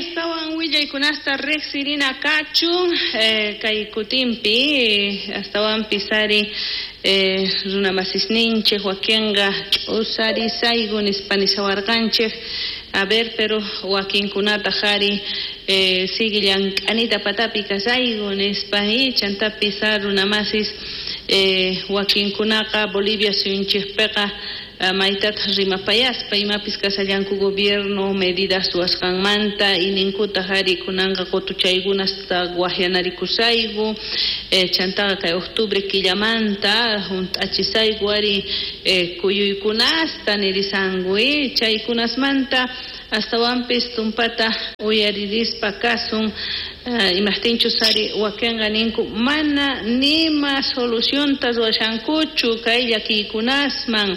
Astawan willaykunasta riqsirina kachun kay kutinpi astawanpis ari runamasisninchik wakinqa ch'usarisayku nispa nishawarqanchik. A ver, pero wakinkunataq ari sigue llank'anita patapi kasayku nispa chantapis runamasis wakinkunaqa Bolivia suyunchikpiqa maytataq rimapayaspa imapis kashallanku gobierno medidas ruwasqanmanta ininkutaq ari kunanqa qutuchaykunasta waqyanarikusayku chantaqa kay octubre killamanta hunt'achisayku ari kuyuykunasta nirisanku chaykunasmanta astawanpis tumpata uyaririspa kasun imaqtinchus ari wakinqa ninku mana nima solucionta ruwashankuchu kay llakiykunasman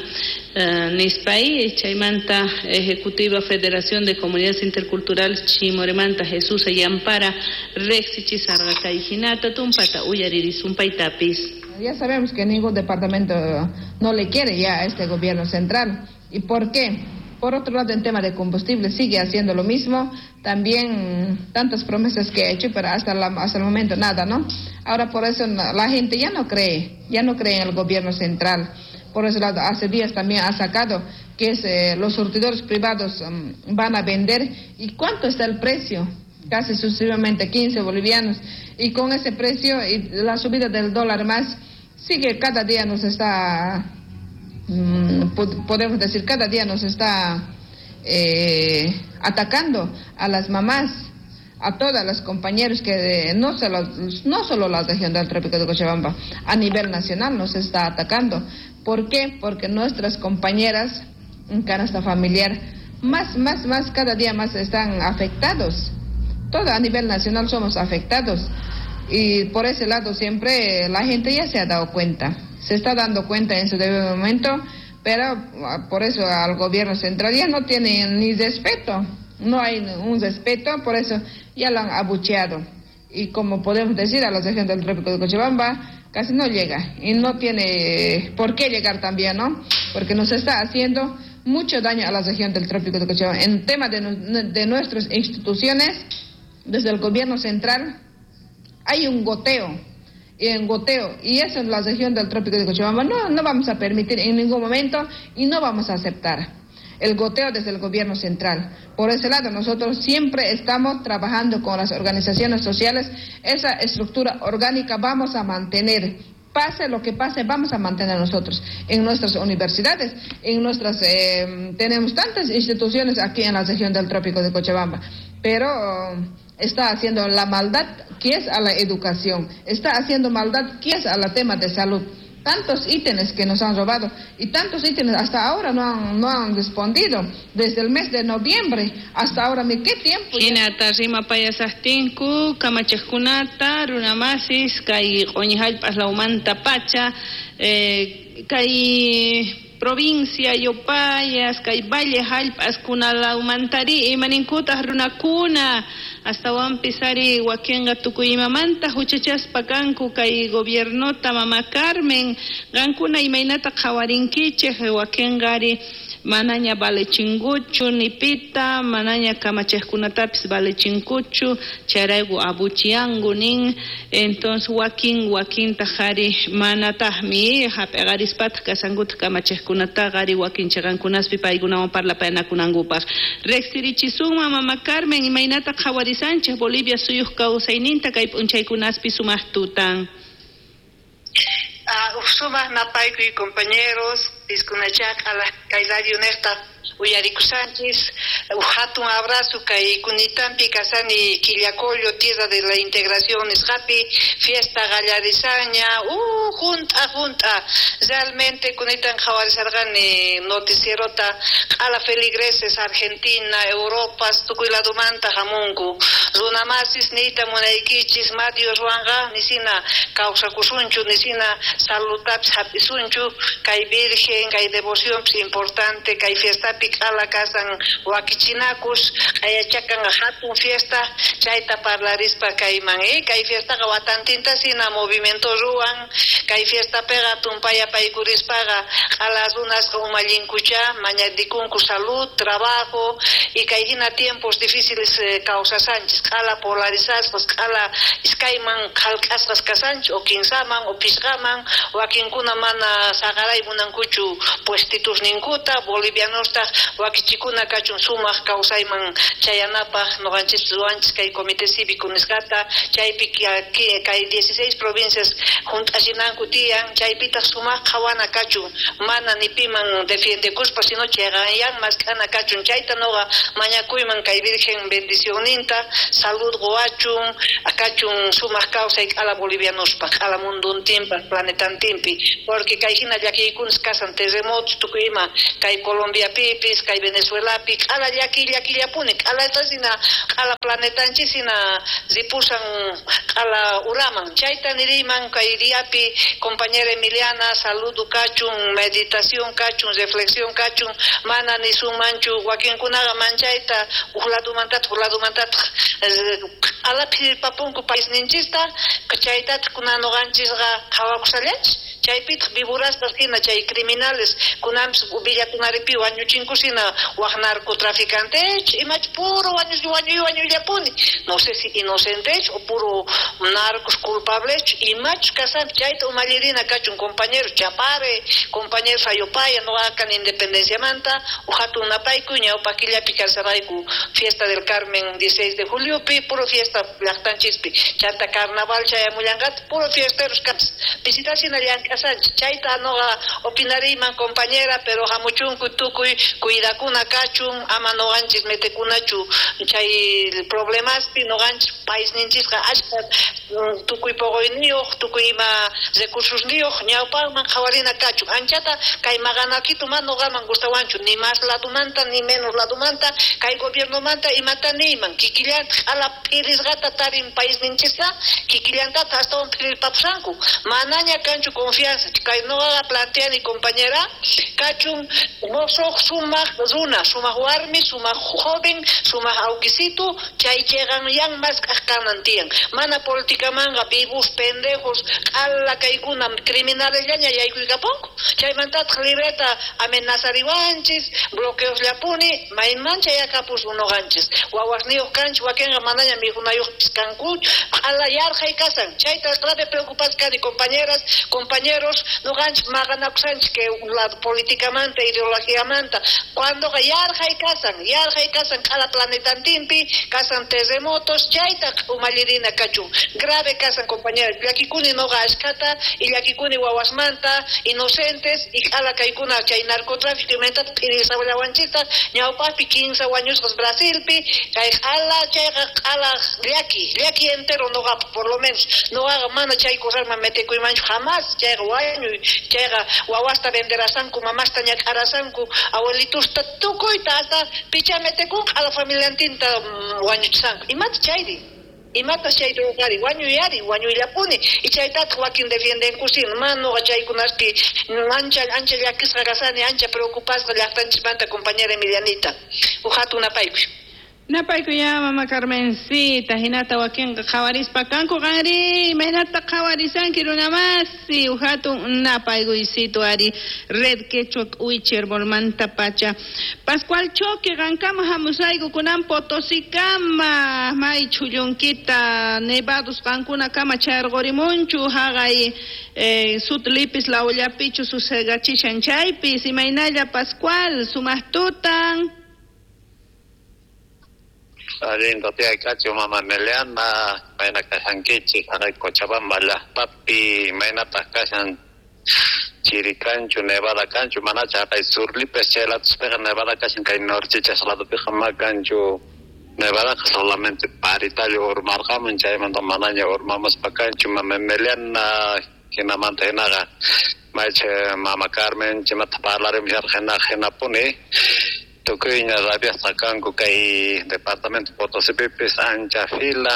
nispa chaymanta Ejecutiva Federación de Comunidades Interculturales Chimoremanta Jesús Yampara riqsichisarqa kay hinata tumpata uyaririsun paytapis. Ya sabemos que ningún departamento no le quiere ya a este gobierno central. ¿Y por qué? Por otro lado, en tema de combustible sigue haciendo lo mismo. También tantas promesas que ha hecho, pero hasta el momento nada, ¿no? Ahora por eso la gente ya no cree en el gobierno central. Por ese lado, hace días también ha sacado que es, los surtidores privados van a vender. ¿Y cuánto está el precio? Casi sucesivamente 15 bolivianos. Y con ese precio y la subida del dólar más, sigue cada día nos está... podemos decir, cada día nos está atacando a las mamás, a todas las compañeros que no solo la región del Trópico de Cochabamba, a nivel nacional nos está atacando. ¿Por qué? Porque nuestras compañeras en canasta familiar más, cada día más están afectados. Todo a nivel nacional somos afectados. Y por ese lado siempre la gente ya se ha dado cuenta. Se está dando cuenta en su debido momento, pero por eso al gobierno central ya no tiene ni respeto, no hay un respeto, por eso ya lo han abucheado. Y como podemos decir, a la región del Trópico de Cochabamba casi no llega, y no tiene por qué llegar también, ¿no? Porque nos está haciendo mucho daño a la región del Trópico de Cochabamba. En tema de nuestras instituciones, desde el gobierno central hay un goteo. En goteo, y eso en la región del Trópico de Cochabamba no vamos a permitir en ningún momento y no vamos a aceptar el goteo desde el gobierno central. Por ese lado, nosotros siempre estamos trabajando con las organizaciones sociales, esa estructura orgánica vamos a mantener. Pase lo que pase, vamos a mantener nosotros en nuestras universidades, en nuestras tenemos tantas instituciones aquí en la región del Trópico de Cochabamba, pero está haciendo la maldad que es a la educación, está haciendo maldad que es al tema de salud. Tantos ítems que nos han robado y tantos ítems hasta ahora no han respondido. Desde el mes de noviembre hasta ahora, ¿qué tiempo? Hinata rimapayasaqtinku kamachaqkunata runamasis kay q'uñi hallp'as lawmanta pacha kay provincia Yopayas, kay valle hallp'as kunalawmantari imaninkutaq runakuna astawanpis ari wakinqa tukuy imamanta huchachaspa kanku kay gobiernota mama Carmen qankuna imaynata qhawarinkichik wakinqa ari manaña valechinkuchu nipita manaña kamachaqkunatapis valechinkuchu chayrayku abuchianku nin entonces wakin wakintaq ari manataqmi hap'iqarispataq kasankutaq kamachaqkunataqa ari wakin chiqankunaspi paykunawan parlapayanakunankupaq riqsirichisunman mama Carmen imaynata qhawarisanchik Bolivia suyuq kawsayninta kay p'unchaykunaspi sumaq tutan. Sumaq napaykuy compañeros, piskunachaq kay radio nesta uyarikusanchis, hatun abrazo kay kunitampi kasani Quillacollo, tierra de la integración nisqapi, fiesta gallarisaña, junta, realmente kunitan qhawarisarqani noticierota q'ala feligreses Argentina, Europa, tukuy ladumanta hamunku, runamasis niyta munaykichis, ma Dioswanqa nisina kawsakusunchu, nisina salutapis hap'isunchu, kay virgen, kay devoción importante, kay fiestapi. Provinciapi q'ala kasan wakichinakus q'ayachakan hatun fiesta chayta parlarispa kayman kay fiestaqa watantinta sina movimiento ruwan kay fiestapiqa tumpaya paykurispaqa q'ala runasqa umallinkucha mañadikunku salud, trabajo y kay hina tiempos difíciles kawsasanchis q'ala polarizasqas q'ala iskayman qhalk'asqas kasanchis o kinsaman o pisqaman wakinkuna mana saqaray munankuchu puestitusninkuta bolivianostaq wakichikuna kachun sumaq kawsayman chayanapaq noqanchis ruwanchis kay comité cívico nisqata chaypi kay 16 provincias junt'ashinanku tiyan chaypitaq sumaq qhawana kachun mana ni piman defiendekuspa sino chayqanyan mask'ana kachun chayta noqa mañakuyman kay Virgen bendicionninta salud quwachun kachun sumaq kawsay q'ala bolivianospaq q'ala munduntinpaq planetantinpi porque kay hina llakiykunas kasan terremotos tukuy ima kay Colombiapipis kay Venezuelapi q'ala llaki llakillapuni q'alatasina q'ala planetanchis ripusan q'ala uraman chayta niriman kay diapi compañera Emiliana saludo kachun meditación kachun reflexión kachun mana nisunmanchu wakinkunaqa manchayta uj ladumantataq uj ladumantataq q'ala phirpapunku paisninchista chaytataq kunan noqanchisqa qhawakusallanchis chaypitaq viburaspas hina chay criminales kunanpis villakunaripi wañuchinkusina waj narcotraficantech imach puro wañuy wañuyllapuni no sé si inocentech o puro narcos culpablech imach kasanpi chayta umallirina kachun compañeros Chapare compañeros Ayopaya noqakan independenciamanta uj hatun napayku ñawpa killapi kasarayku fiesta del Carmen 16 de juliopi puro fiesta llaqtanchispi chanta carnaval chayamullanqataq puro fiesteros kanchis pisitasina llank'asanchis chayta noqa opinariyman compañera pero hamuchunku tukuy cuidakuna kachun ama noqanchis metekunachu chay problemaspi noqanchis paisninchisqa ashka tukuy poqoyniyuq tukuy ima recursosniyuq ñawpaqman qhawarina kachun anchata kay maqanakitu mana noqaman gustawanchu ni más ladumanta ni menos ladumanta kay gobiernomanta imata niyman kikillantaq q'ala phirisqata tarin paisninchista kikillantata astawan phirirpapusanku manaña kanchu confianza kay noqaqa planteani compañera kachun mosoq sumaq runa sumaq warmi sumaq joven sumaq awkisitu chay chayqanyan mask'aq kanan tiyan mana politicamanqa vivos pendejos q'ala kaykuna criminalesllaña yaykuykapunku chaymantataq libreta amenazariwanchis bloqueosllapuni mayman chayakapusun noqanchis wawasniyuq kanchis wakinqa manaña mikhunayuqpis kanku q'ala yarqhay kasan chayta grave preocupasqa kani compañeras compañeros noqanchis maqanakusanchis que lado políticamanta ideologiamanta cuandoqa yarqhay kasan q'ala planetantinpi kasan terremotos chayta umallirina kachun grave kasan compañeras llakikuni noqa ashkata y llakikuni wawasmanta inocentes y q'ala kaykuna chay narcotráfico imantata phirisawallawanchista ñawpaqpi 15 wañusqas Brasilpi kay q'ala chayqa q'ala llaki entero noqapaq por lo menos noqaqa mana chay cosasman metekuymanchu jamás chayqa wañuy chayqa wawasta venderasanku mamasta ñak'arasanku abuelitusta tukuyta hasta picha metekun q'ala familiantinta wañuchisanku imata chayri imata chay ruwari wañuyari wañuyllapuni y chaytataq wakin defiendenkusin mana noqa chaykunaspi ancha llakisqa kasani ancha preocupasqa llaqtanchismanta compañera Emilianita uj hatun napaykuy. Napaykuya mama Carmencita hinata wakinqa qhawarispa kanku qanri imaynata qhawarisanki runamasi uj hatun napaykuysitu ari Red Quechua K'uicher bolmanta pacha Pascual Choque qankama hamusayku kunan Potosikama may chhullunkita nevados qankunakama chayarqurimunchu haqay sutlipis lawllapichu susegachishan chaypis imaynalla Pascual sumaq tutan. Allinta tiyaykachu mama Emiliana mayna kashankichik haqay Cochabamba llaqtapi maynataq kashan chiri kanchu nevada kanchu manacha haqay surlipis chay latuspiqa nevada kashan kay norchichas ladupiqa ma kanchu nevadaqa solamente paritallo urmarqamun chaymanta manaña urmamuspa kanchu mama Emiliana hinamanta hinaqa maycha mama Carmen chimata parlarimusharqa hinaqa hinapuni tukuyña rabiasqa kanku kay departamento Potosipipis ancha fila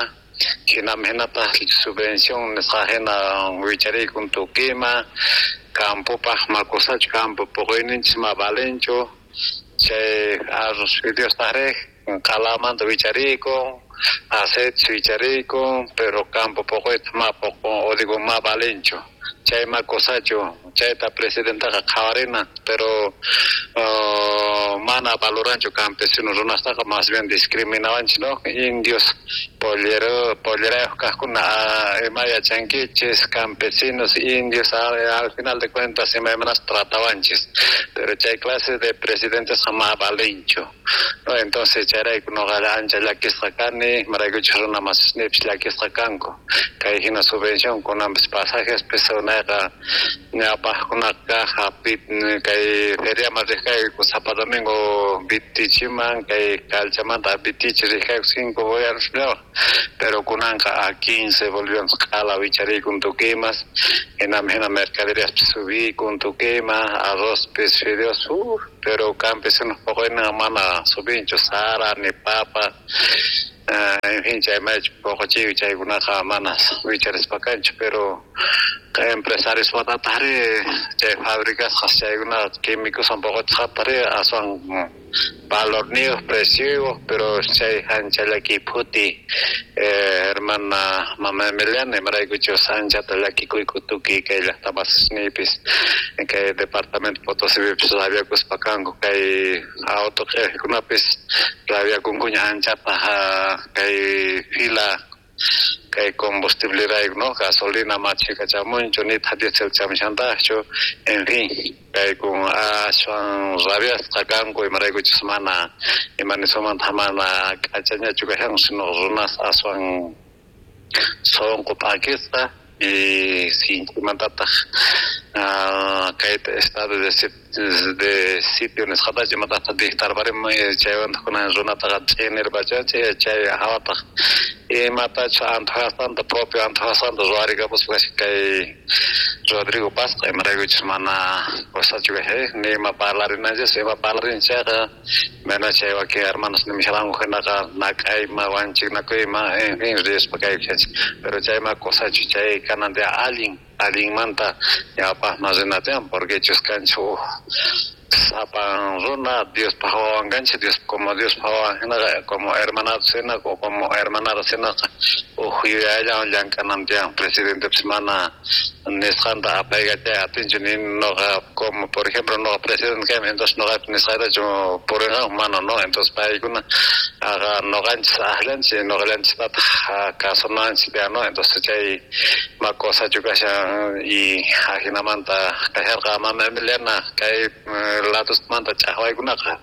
hinam hinataq subvención nisqa hina wicharikun tukima campopaq makusachu campo puquyninchis ma valenchu. Chay arroz fideostajrí q'alamanta wicharikun, aceite wicharikun, pero campo poqoyta ma poqon o digo ma valenchu. Chay ma cosachu, chayta presidentaqa qhawarina, pero mana valoranchu campesino runastaqa, más bien discriminawanchis, ¿no? Indios pollerayoj kajkuna, ima yachankichis, campesinos, indios, al final de cuentas imaymanas tratawanchis, pero chay clase de presidentes ma valenchu, ¿no? Entonces chayrayku noqa ancha llakisqa kani, imaraykuchus runa masisnipis llakisqa kanku, kay hina subvención kunanpis pasajes pis unayqa ñawpaqkunaqa kay feriaman riq kayku sapa domingo Vitichiman, kay Calchamanta Vitichi riq kayku 5 bolivianos, pero kunanqa a 15 bolivianos q'ala wicharikun tukuymas, hinami hina mercaderíaspis subikun tukuyma, arrozpis fideos, pero campesinos poqoyninqa mana subinchu, sara ni papa, en fin, chay maychu poqochiy chaykunaqa mana wicharispa kanchu, pero empresarios watataqri chay fabricasqas chaykuna químicoswan poqochisqataqri aswan valorniyuq, precioyuq, pero chay ancha llakiy phuti, hermana mama Emiliana, imaraykuchus anchata llakikuyku tukuy kay llaqtamasisniypis, kay departamento Potosipipis rabiakuspa kanku, kay auto q'ijkunapis rabiakunkuña anchata kay fila kay combustible rayku, ¿no? Gasolina machika chamunchu, nitaq diésel chamushantajchu, en fin, kay kun aswan rabiasqa kanku, imaraykuchus mana imanisumanta mana k'achañachu kashan, sino runas aswan sonqo p'akisqa y sinchimantataq kay estado de sitio nisqatachu imatataq dictarparimun, chaywantaq kunan runataqa ch'inirpachanchik, chay hawataq imatachus antojasqanta propio antojasqanta ruwarikapuspa kay Rodrigo Pazqa, imaraykuchus mana cosachu kashan, ni ima parlarinanchis, ima parlarin chayqa mana chay wakin hermanos nimisharanku hinaqa nak'ayma wanchiknakuyma, en fin, rispa kaykushanchik, pero chayma cosachu chay kanan allin allinmanta ñawpaqman rina tiyan, porque chus kanchik uj sapan runa Diospaq wawan kanchik, Dios como Diospaq wawan hinaqa, como hermanados hina o como hermanadas hinaqa uj yuyayllawan llank'anan tiyan, presidentepis mana nisqanta apaykachay atinchu, ni noqa como por ejemplo noqa presidente kaymi, entonces noqapis nisqaytachu purinqanku, mana no, entonces paykuna aqa noqanchis aqllanchis, noqallanchistataq kasunanchis tiyan, no, entonces chay ma cosachu kashan y ajinamanta kasharqa mama Emiliana kay ladosmanta ch'aqwaykunaqa.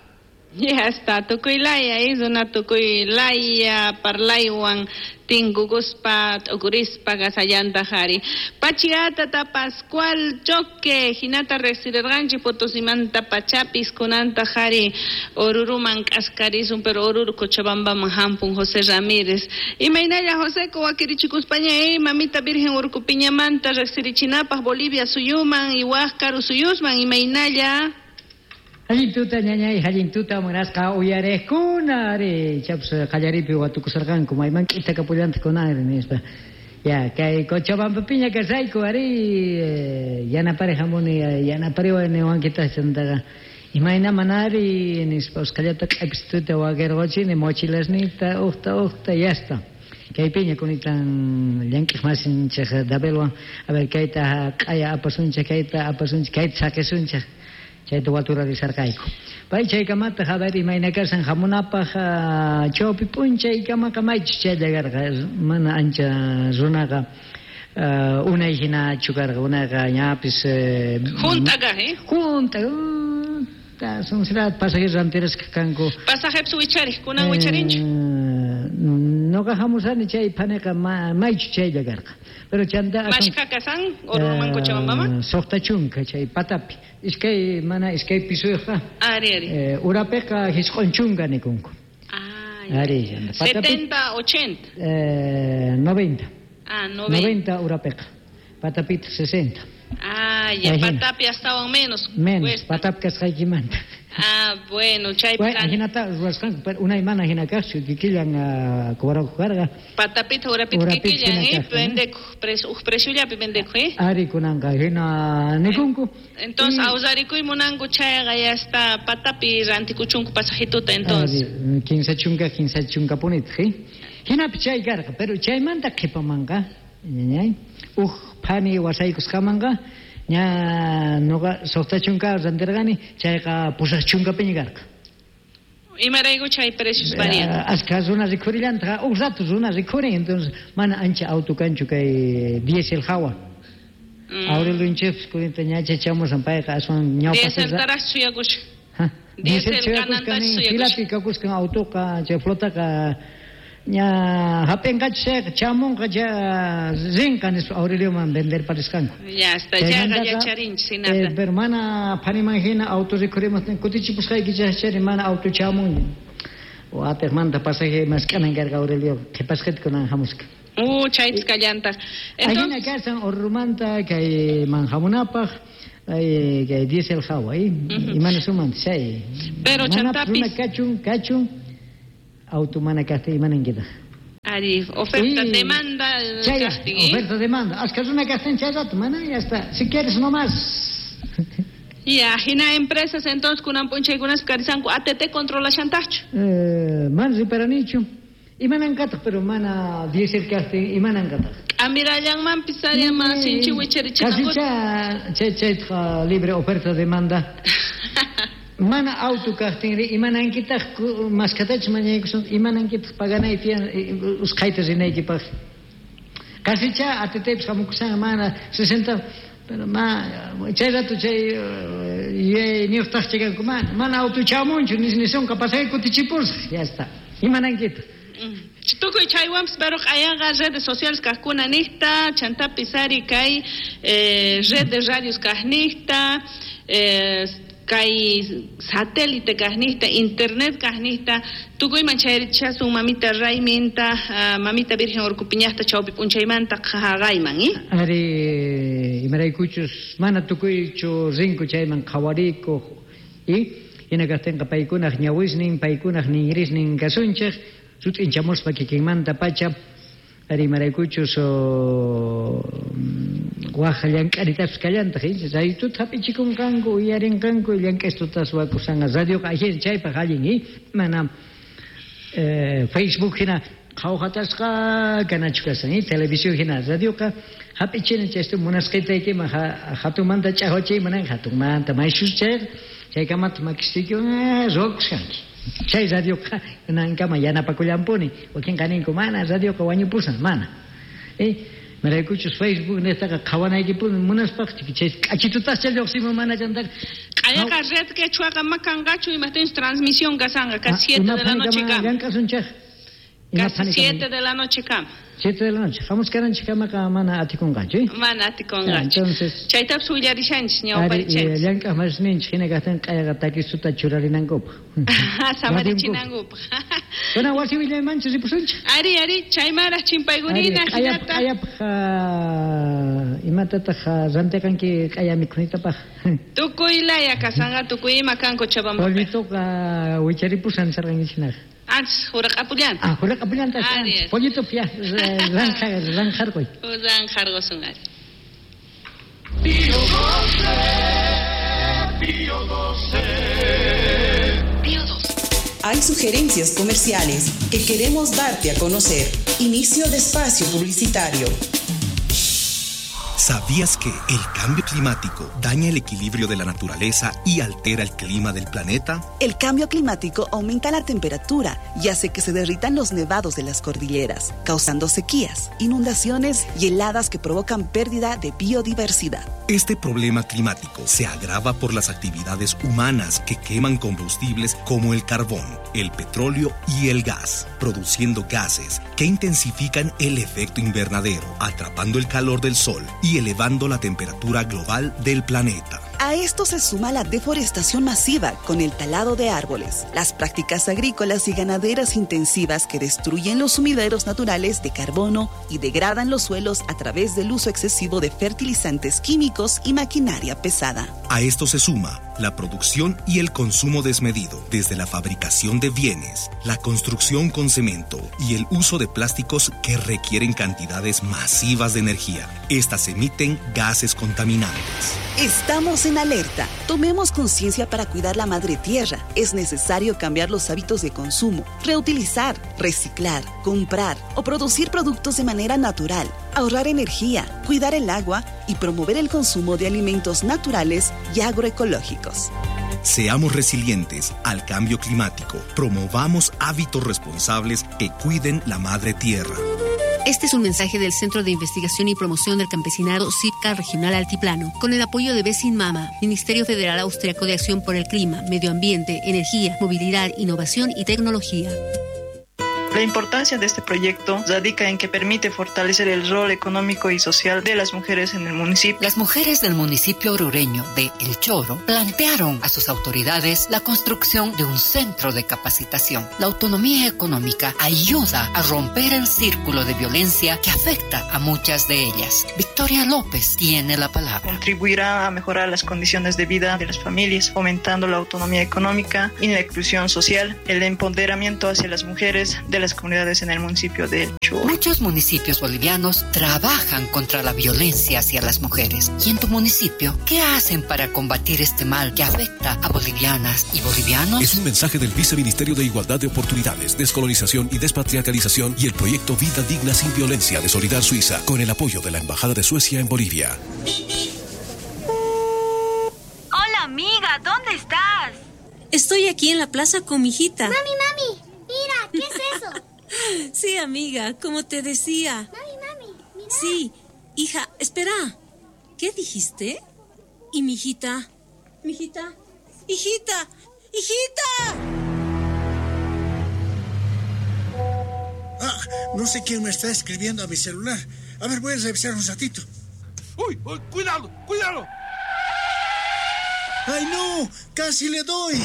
Ya está, tukuy laya, runa tukuy laya parlaywan tinkukuspa t'ukurispa kasallantaq ari. Pachiatata Pascual Choque, hinata riqsirqanchik Potosimanta pachapis kunantaq ari Oruruman k'askarisun, pero Oruro Cochabambaman hampun José Ramírez. Imaynalla José wakirichikuspaña mamita Virgen Urcupiñamanta riqsirichinapaq Bolivia suyuman y waq karu suyusman, imaynalla. Allin tuta ñañay, allin tuta munasqa uyarejkuna ari chaps qallaripi watukusarqanku mayman k'ita kapullantaq kunanri nispa. Ya kay Cochabambapiña kasayku ari yanapari hamuni yanapariwan niwankitaq chantaqa imayna manari nispa usqhallata q'apituta wakirquchini mochilasniyta uqta uqta yasta. Kaypiña kunitan llank'aq masinchik Dabelwan, a ver kayta q'aya apasunchik, kayta apasunchik, kayta saqisunchik. Chayta waturarisarqayku. Pay chaykamataq a ver imayna kasan hamunapaq chawpi p'unchaykamaqa maychus chaylla karqa, mana ancha runaqa unay hinachu karqa, unayqa ñapis junta kaq, eh? Junta, sonsirat pasajeros rantirasqa kanku. Pasajepis wichariq, kunan wicharinchu? Noqa hamusani chay phaniqa maychu chaylla karqa. Pero chanta mashka kasan Oruruman Cochabambaman? Suqta chunka chay patapi. Iskay mana iskay pisuyqa. Ari ari. Urapiqa hisq'un chunka nikunku. Ah, ari. 70, 80. 90. Ah, 90. 90 urapiqa. Patapitaq 60. Ah, ya, patapi astawan menos. Menos, patapi kasqaykimanta. Ah, bueno, chay Hinata ruwasqanku, pero unay mana hina kaqchu, kikillan cobrakuq karqa. Patapita urapita kikillan, vendekuq, uj preciollapi vendekuq, eh? Ari kunanqa hina nikunku. Entonces, awsarikuy munanku chayqa ya está patapi rantikuchunku pasajituta entonces. Ari, 15 chunka punitaq, eh? Hinapi chay karqa, pero chaymanta qhipamanqa, ñañay, uj phani wasaykusqamanqa, ña noqa 60 rantirqani, chayqa 80 piña karqa. Imarayku chay precios varían? Ashka runa rikhurillantaj, uj rato runa rikhurin, entonces mana ancha auto kanchu kay diésel hawa. Aurelio kunita ñacha chamusan payqa aswan ñawpa Dieseltaraq suyakushan. Diesel suyakuskan, filapi kakuskan autoqa, chay flotaqa ña hap'inqachu chayqa chamunqa cha rinqa nispa Aurelioman vender parisqanku. Ya está, chayqa yacharinchis hinata. Pero mana phaniman hina auto rikhurimuqtin kutichipusqayki chayri mana auto chamun. Atiqmanta pasaje mask'anan karqa Aurelio, qhipasqita kunan hamusqa. Chaytas kallantaq. Ahina kashan Orrumanta kayman hamunapaq kay diésel hawa, imana sumanta chay. Pero chantapis runa kachun auto mana kaqtin imanankitaq. Ari, oferta demanda chay, oferta demanda. Ashka runa kaqtin chay rato, mana ya está. Si quieres nomás. Ya, hina empresas entonces kunan p'unchaykunaspi karisanku ATT controlashantaqchu. Mana riparanichu. Imanankataq, pero mana diésel kaqtin imanankataq. K'amirallanmanpis ari ama sinchi wicharichinankuta. Casi chay chaytaqa libre oferta demanda. Mana auto kaqtinri imanankitaq maskatachus mañaykusun imanankitaq paganay tiyan usqhayta rinaykipaq. Casicha ATTpis hamukushan mana 60 pero ma chay rato chay yuyayniyuqtaq kanku mana mana auto chamunchu nisonqa pasaje kutichipusaq ya está imanankitaq. Tukuy chaywanpis pero q'ayanqa redes sociales kaqkuna niqta chantapis ari kay red de radios kaqniqta kay satélite kaqniqta internet kaqniqta tukuyman chayrichasun mamita rayminta mamita Virgen Urcupiñaqta chawpi p'unchaymanta qhaqayman, Ari imaraykuchus mana tukuychu rinku chayman qhawarikuq y hina kaqtinqa paykunaq ñawisnin paykunaq ninrisnin kasunchik sut'inchamuspa kikinmanta pacha ari imaraykuchus waj llank'aritapis kallantaq raytuta hap'ichikunqanku uyarinqanku llank'aystutas wakusanqa radioqa ajin chaypaq allin mana Facebook hina qhawhatasqa kanachu kasan televisión hina radioqa hap'ichina chaystu munasqaytaykiman hatunmanta ch'aqwachiyman hatunmanta mayshus chayqa chaykamata makisiykiwan ruwakusqanki chay radioqa kunankama yanapakullanpuni wakinqa ninku mana radioqa wañupusan mana imaraykuchus Facebook niqtaqa qhawanaykipuni munaspaq chay k'achitutascha lluqsimun mana chantaqa Q'ayaqa red quechuaqa ma kanqachu imaqtinchus transmisión kasanqa casi 7 de la noche kama. Llank'asunchik. Casi 7 de la noche kama. 7 de la noche. Hamuskananchik kamaqa mana atikunqachu. Mana atikunqachu. Entonces chaytapis willarishanchis ñawparichanchis. Llank'aq masninchik hina kaqtin q'ayaqa takisuta churarinankupaq. Samarichinankupaq. Kunan wasi willaymanchu ripusunchik. Ari, ari, chaymaraq chimpaykunina hinata. Q'ayapaq imatataq rantiqanki q'aya mikhunitapaq. Tukuy laya kasanqa tukuy ima kan Cochabamba. Pollituqa wicharipusan sarqankichinaqa. Antes huraq'apullanta. Ah, huraq'apullanta. Pollitup ya ranjarquy. Ranjarqusun ari. Pío 12, Pío 12. Pío 12. Hay sugerencias comerciales que queremos darte a conocer. Inicio de espacio publicitario. ¿Sabías que el cambio climático daña el equilibrio de la naturaleza y altera el clima del planeta? El cambio climático aumenta la temperatura y hace que se derritan los nevados de las cordilleras, causando sequías, inundaciones y heladas que provocan pérdida de biodiversidad. Este problema climático se agrava por las actividades humanas que queman combustibles como el carbón, el petróleo y el gas, produciendo gases que intensifican el efecto invernadero, atrapando el calor del sol y elevando la temperatura global del planeta. A esto se suma la deforestación masiva con el talado de árboles, las prácticas agrícolas y ganaderas intensivas que destruyen los sumideros naturales de carbono y degradan los suelos a través del uso excesivo de fertilizantes químicos y maquinaria pesada. A esto se suma La producción y el consumo desmedido, desde la fabricación de bienes, la construcción con cemento y el uso de plásticos que requieren cantidades masivas de energía. Estas emiten gases contaminantes. Estamos en alerta. Tomemos conciencia para cuidar la madre tierra. Es necesario cambiar los hábitos de consumo, reutilizar, reciclar, comprar o producir productos de manera natural, ahorrar energía, cuidar el agua y promover el consumo de alimentos naturales y agroecológicos. Seamos resilientes al cambio climático. Promovamos hábitos responsables que cuiden la madre tierra. Este es un mensaje del Centro de Investigación y Promoción del Campesinado CIPCA Regional Altiplano, con el apoyo de Besin Mama, Ministerio Federal Austriaco de Acción por el Clima, Medio Ambiente, Energía, Movilidad, Innovación y Tecnología. La importancia de este proyecto radica en que permite fortalecer el rol económico y social de las mujeres en el municipio. Las mujeres del municipio orureño de El Choro plantearon a sus autoridades la construcción de un centro de capacitación. La autonomía económica ayuda a romper el círculo de violencia que afecta a muchas de ellas. Victoria López tiene la palabra. Contribuirá a mejorar las condiciones de vida de las familias, fomentando la autonomía económica y la inclusión social, el empoderamiento hacia las mujeres de las comunidades en el municipio de El Choro. Muchos municipios bolivianos trabajan contra la violencia hacia las mujeres. ¿Y en tu municipio qué hacen para combatir este mal que afecta a bolivianas y bolivianos? Es un mensaje del Viceministerio de Igualdad de Oportunidades, Descolonización y Despatriarcalización y el proyecto Vida Digna sin Violencia de Solidar Suiza, con el apoyo de la Embajada de Suecia en Bolivia. Hola amiga, ¿dónde estás? Estoy aquí en la plaza con mi hijita. Mami, mami, mira, ¿qué es eso? Sí, amiga, como te decía. Mami, mami, mira. Sí, hija, espera. ¿Qué dijiste? ¿Y mi hijita? ¿Mi hijita? ¡Hijita! ¡Hijita! Ah, no sé quién me está escribiendo a mi celular. A ver, voy a revisar un ratito. ¡Uy! Uy, ¡Cuidado! ¡Cuidado! ¡Ay, no! ¡Casi le doy!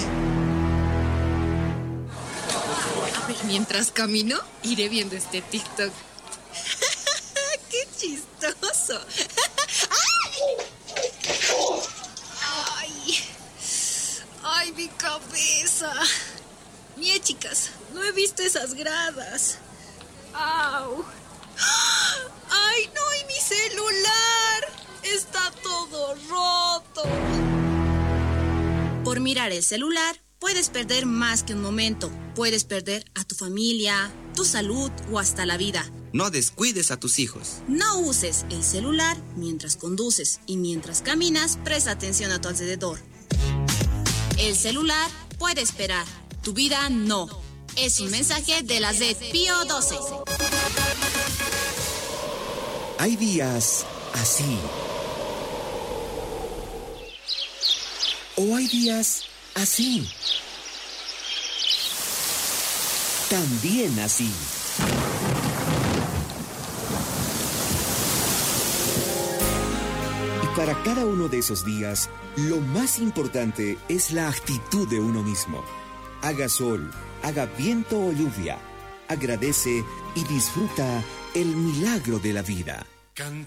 A ver, mientras camino, iré viendo este TikTok. ¡Qué chistoso! ¡Ay! ¡Ay, mi cabeza! Mira, chicas, no he visto esas gradas. ¡Au! ¡Ay, no! ¡Y mi celular! ¡Está todo roto! Por mirar el celular, puedes perder más que un momento. Puedes perder a tu familia, tu salud o hasta la vida. No descuides a tus hijos. No uses el celular mientras conduces y mientras caminas, presta atención a tu alrededor. El celular puede esperar, tu vida no. Es un mensaje de la Z Pío 12. Hay días así. O hay días así. También así. Y para cada uno de esos días, lo más importante es la actitud de uno mismo. Haga sol, haga viento o lluvia. Agradece y disfruta el milagro de la vida. Cantar.